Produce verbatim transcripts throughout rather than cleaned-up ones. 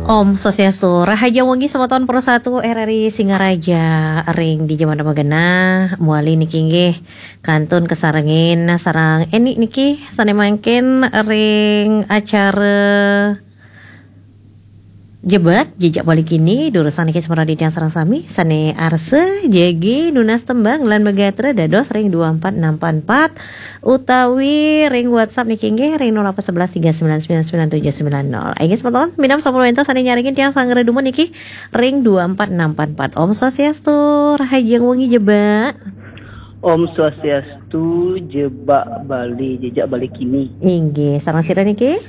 Om Swastiastu, rahajeng wengi semeton Pro satu R R I Singaraja ring dija mangda magenah, muali niki inggih kantun kasarengin sareng Eni niki sane mangkin ring acara Jebak, Jejak Bali Kini, durusang niki semara titiang sareng sami, sane arsa jagi nunas tembang lan magatra dados ring dua empat enam empat empat, utawi ring WhatsApp niki inggih ring nol delapan sebelas tiga sembilan sembilan sembilan tujuh sembilan nol. Inggih semeton, minab sampun wenten sane nyarengin tiang sanggra dumun niki ring dua empat enam empat empat. Om Swastiastu, rahajeng wengi Jebak. Om Swastiastu, Jebak Bali, Jejak Bali Kini. Inggih, sareng sira niki?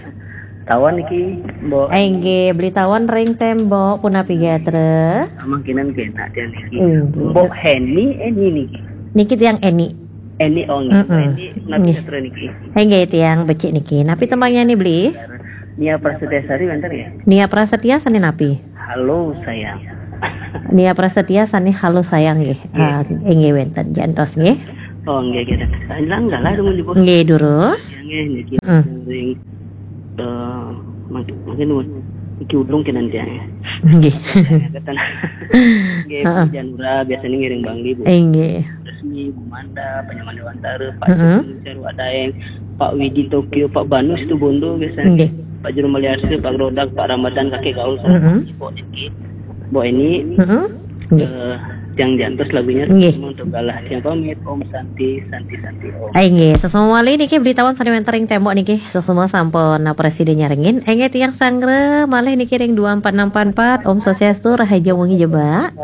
Tawan niki, Mbok. Inggih, Beli Tawan ring tembok, punapi gatra? Mangkinan kenak tiang niki. Inggih. Mbok Heni, Eni niki. Niki tiang Eni. Eni, oh, nggih. Mm-mm. Eni, napi nggih. Sastra niki? Inggih, tiang becik niki. Napi tembangnyané, Beli? Nia Prasetya Sari wénten nggih? Nia Prasetya sané napi? Halo, sayang. Nia Prasetya sané halo, sayang, nggih. Nggih. Ah, inggih wénten. Jantos, nggih. Oh, nggih, nggih. Langgah lah, dong, Ibu. Nggih, durus. Nggih, niki. Hmm. Ring, eh, mangkin, mangkin nuwun. Niki ulung kenan tiang, ya. Nggih. Nggih, heeh. Janura biasanya ngiring Bangli, Bu. Inggih. Resmi, Bu Manda, Panyaman Dewantara, Pak, heeh, Jumung, Seru Adaeng, Pak Widi Tokyo, Pak Banu Situbondo biasanya. Nggih. Pak Juru Maliarsa, Pak Grodak, Pak Ramadan, Kakek Gaul, sama, heeh, Pak Ibu niki. Bu Eni. Heeh. Nggih. Eh, yang jantos lagunya, nggih, untuk galah. Yang pamit, Om Santi, Santi, Santi, Om. Ai, nggih, sesama malih niki Beli Tawan sané wénten ring tembok niki. Sesama sampun presida nyarengin. Inggih tiang sanggra malih niki ring dua empat enam empat empat. Om Swastiastu, rahajeng wengi Jebak.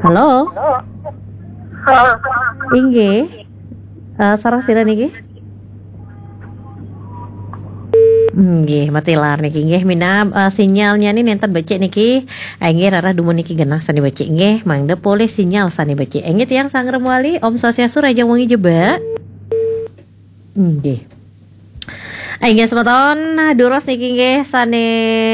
Halo? Halo? Inggih. Eh, sareng sira niki? Nggih, matilar niki nggih, minab, eh, sinyalnya ni nénten becik niki. Eh, nggih, rarah dumun niki genah sané becik nggih, mangda polih sinyal sané becik. Eh, nggih, tiang sanggra malih, Om Swastiastu, rahajeng wengi Jebak. Nggih. Inggih semeton, durus niki nggih sané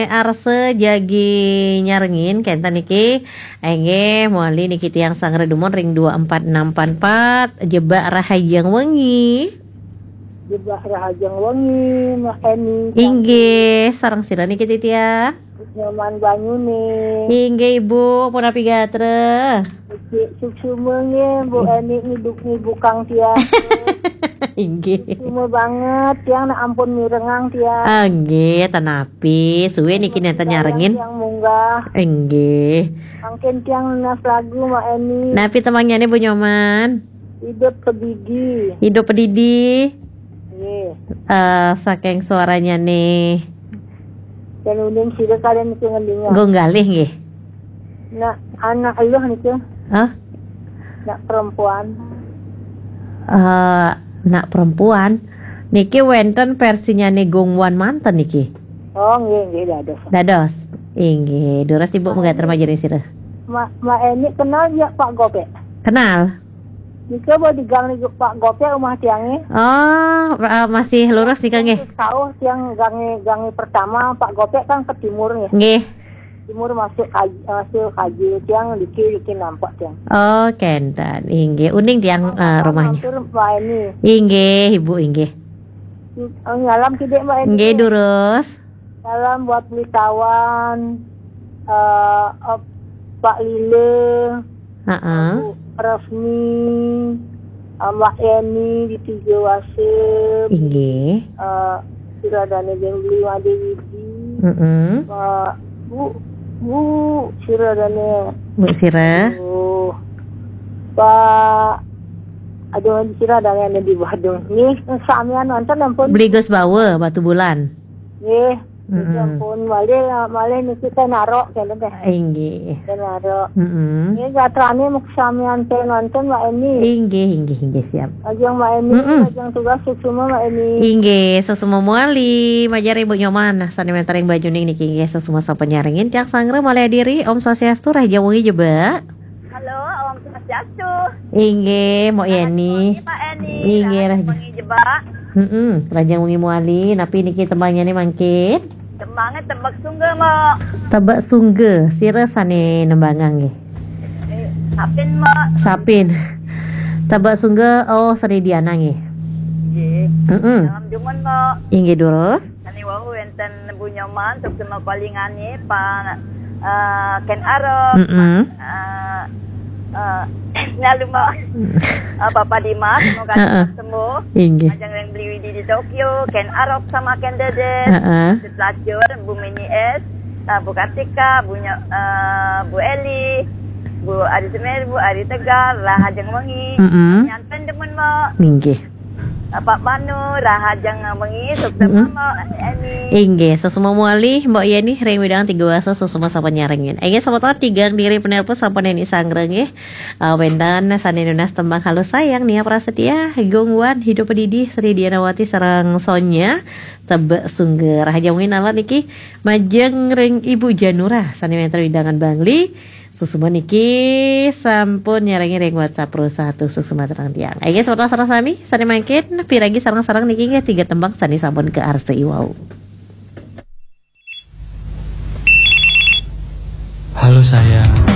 arsa jagi nyarengin kénten niki. Inggih, mawali niki tiang sanggra dumun ring dua empat enam empat empat, Jebak rahajeng wengi. Jebak rahajeng wengi, Mak Eni. Inggih, sareng sira niki titiang? Nyoman banyuné. Inggih, Ibu, punapi gatra? Becik suksma nggih, Bu Eni ngiduk ngibukang tiang. Inggih. Suksma banget, tiang nak ampun mirengang tiang. Ah, nggih, ten napi. Suwé niki nénten nyarengin. Tiang munggah. Inggih. Mangkin tiang nunas lagu, Mak Eni. Napi tembangnyané, Bu Nyoman? Hidup Pedidi. Hidup Pedidi. Nggih. Eh, saking suaranya nih. Dan uning sida kalian niki ngendingan. Gong Galih nggih. Nak anak eluh niki. Hah? Nak perempuan. Eh, nak perempuan. Niki wénten versinya nih Gong Wan manten niki. Oh, nggih, nggih, dados. Dados. Inggih, durus Ibu, mangga terima jering sira. Ma, Ma Eni kenal ya Pak Gopek? Kenal. Nika ba di gang ni Pak Gopek rumah tiangé. Oh, eh, masih lurus nika nggih. Sauh tiang gangé, gangé pertama, Pak Gopek kan ke timur nggih. Nggih. Timur masuk kaj-, masuk kaji tiang diki, diki nampak tiang. Oh, kénten. Inggih, uning tiang, eh, rumahnya. Matur, Mbak Eni. Inggih, Ibu, inggih. Oh, nyalam kidik, Mbak Eni. Nggih, durus. Salam buat Beli Tawan, eh, eh, Pak Lila, heeh, Bu Resmi, eh, Mbak Eni di Tiga Wasem, inggih, eh, sira dané Jeng Beli Wadi Widi, heeh, eh, Bu, Bu sira dané. Bu sira. Aduh. Pak, aduh, sira dané di Badung. Nggih, samian wonten ampun. Beli Gus Bawa, Batubulan. Nggih. Mm-mm. Ampun, malih, malih niki téh narok, kénten téh. Inggih. Téh narok. Mm-mm. Nggih, gatrané muk samian téh nonton, Mbak Eni. Inggih, inggih, inggih, siap. Ajeng Mbak Eni, mm-mm, ajeng tugas suksma, Mbak Eni. Inggih, suksma mawali, majeng Ibu Nyoman. Nah, sané wénten ring Banyuning niki inggih suksma sampun nyarengin tiang sanggra malih adiri. Om Swastiastu, rahajeng wengi Jebak. Halo, Om Swastiastu. Inggih, Mbok Yeni. Selamat wengi, Mbok Yeni. Inggih, rahajeng wengi Jebak. Heeh, rahajeng wengi mawali. Napi niki tembangnyané mangkin? Tembangé Tebek Sungga, Mbok. Tebek Sungga, sira sané nembangang nggih? Eh, Sapin, Mbok. Sapin. Tebek Sungga, oh, Sri Diana nggih. Nggih. Heeh. Salam dumun, Mbok. Inggih, durus. Sané wau wénten Dan Bu Nyoman, untuk semua palingannya, Pak, eh, Ken Arok, Mm-mm. eh, eh, lalu mau, eh, Papa Dimas, semoga Heeh. cepat sembuh. Inggih. Ajang yang beli Widi di Tokyo, Ken Arok sama Ken Dedes, Heeh. Datuk Lacur, Bu Mini S, eh, Bu Kartika, Bu Nyo, eh, Bu Eli, Bu Ari Semer, Bu Ari Tegar, Rahajeng Wengi. Mm-mm. Nyanten demen mau. Inggih. Pak Manu, Rahajeng Wengi, sukses Mm-mm. mama, Eni. Inggih, sesama muali, Mbok Yeni, ring widang tiga wasa, sesama sampun nyarengin. Inggih, selamat tahun tigang diri penelpon sampun Neni Sangreng, nggih. Uh, wénten sané nunas tembang Halo Sayang, Nia Prasetya, Gung Wan, Hidup Pedidi, Sri Dianawati, sareng Sonya, Tebek Sungger. Rahajeng wengi niki, majeng ring Ibu Janura, sané wénten widangan Bangli. Susuman niki sampun nyarengin ring WhatsApp Pro satu, suksma terang tiang. Inggih, selamat sareng sami, sané mangkin, piragi sareng-sareng niki nggih tiga tembang sané sampun ke arsa iwau. Halo sayang,